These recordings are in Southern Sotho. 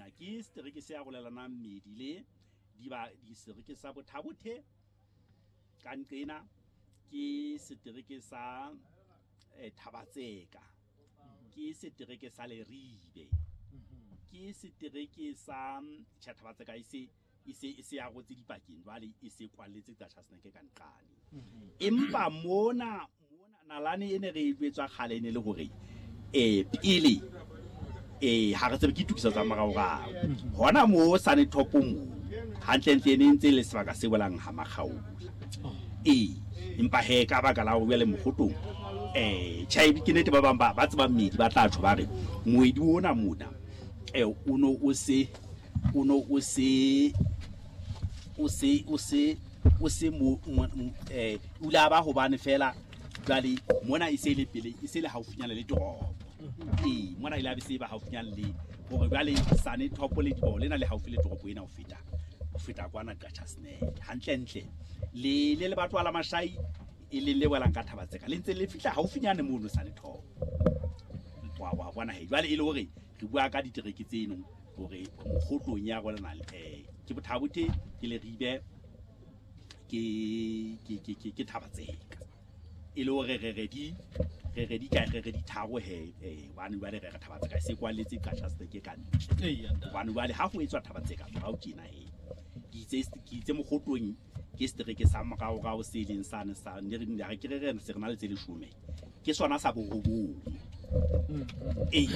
mona ke setereke se arolelanang medi le diba disereke sa Bothabothe ka nqena, ke setereke sa Thabatseka, ke setereke sa Leribe, ke setereke sa tjhe, Thabatseka e se e se e se arotse dipakeng jwale, e se kwalletse Qacha's Nek ka nqane. Empa mona mona nalane e ne re e jwetswa kgale e ne le hore pele ha re tsebe ke ditokiso tsa moraorao hona mo Sanetop mo hantlentle e ne ntse e le sebaka se welang ha Makgaola. Ee, empa he ka baka la hore jwale Mokgotong tjhe, ke nnete ba bang ba ba tsebang meedi ba tla tjho ba re moedi ona mona o no o se o no o se o se o se o se mo o ile a ba hobane fela jwale mona e se le pele e se le haufinyana le toropo. Ee, mona ile a be se ba haufinyana le hore jwale Sanetop le diboko lena le haufi le toropo ena ho feta kwana Qacha's Nek. Hantlentle le le lebatowa la Mashai e leng le welang ka Thabatseka le ntse le fihla haufinyane mono Sanetop. Wa bona he jwale e le hore re bua ka ditereke tseno hore Mokgotlong ya rona ke Bothabothe, ke Leribe, ke Thabatseka. E le hore re re di re re di kae, re re di tharo he hobane jwale re re Thabatseka e se kwalletse Qacha's Nek ka ntle. Hobane jwale ha ho etswa Thabatseka morao tjena he ke itse Mokgotlong ke setereke sa moraorao se leng sane sa ne re re ke re re se re na le tse 10, ke sona sa borobong. Ee,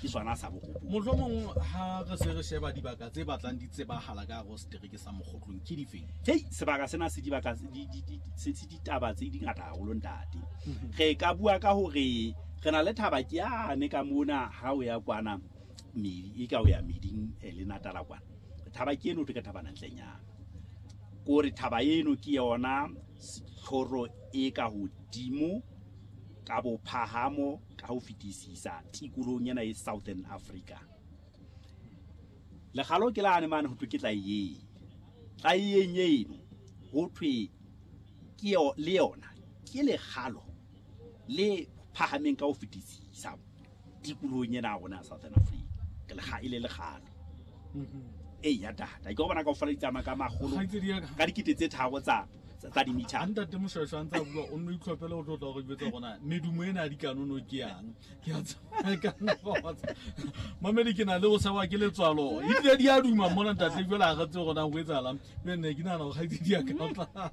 ke sona sa borobong. Mohlomong ha re se re sheba dibaka tse batlang di tsebahala ka hare ho setereke sa Mokgotlong ke difeng? Hei, sebaka sena se dibaka di di di se se ditaba tse dingata haholo ntate. Re ka bua ka hore re na le thaba ke yane ka mona ha o ya kwana medi e ka o ya meding le Natala kwana. Thaba ke eno ke thabana ntlenyana. Kore thaba eno ke yona tlhoro e ka hodimo ka bophahamo ka ho fetisisa tikolohong ena e Southern Africa. Lekgalo ke lane mane ho thwe ke Tlaiyeng. Tlaiyeng eno ho thwe ke le yona ke lekgalo le phahameng ka ho fetisisa tikolohong ena ya rona ya Southern Africa. Ke lekga e le lekgalo. Ee ya tata, ke go bona kaofela di tsamaya ka makgolo Kgaitsedi ya ka. ka 3000 tsa di-meter. Ha ntate Moshweshwe a ntse a bua, o nno itlhophele o tlo tla go jwetsa gona medumo ena ya dikanono ke yang. Ke a tseba ka nna wa tseba. Mamedi ke na le go sewa ke letswalo. Ebile di a duma mona ntate jwale ha re tsebe gona ho etsahalang. Mme ne ke nahana hore kgaitsedi ya ka o tla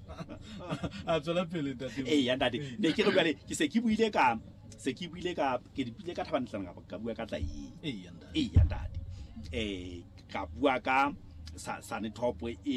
a tswela pele ntate. Ee ya ntate, ne ke re jwale ke se ke buile ka se ke buile ka ke buile ka Thabana ka bua ka Tlaiyeng. Ee ya ntate. Ee ya ntate. Ka bua ka Sanetop e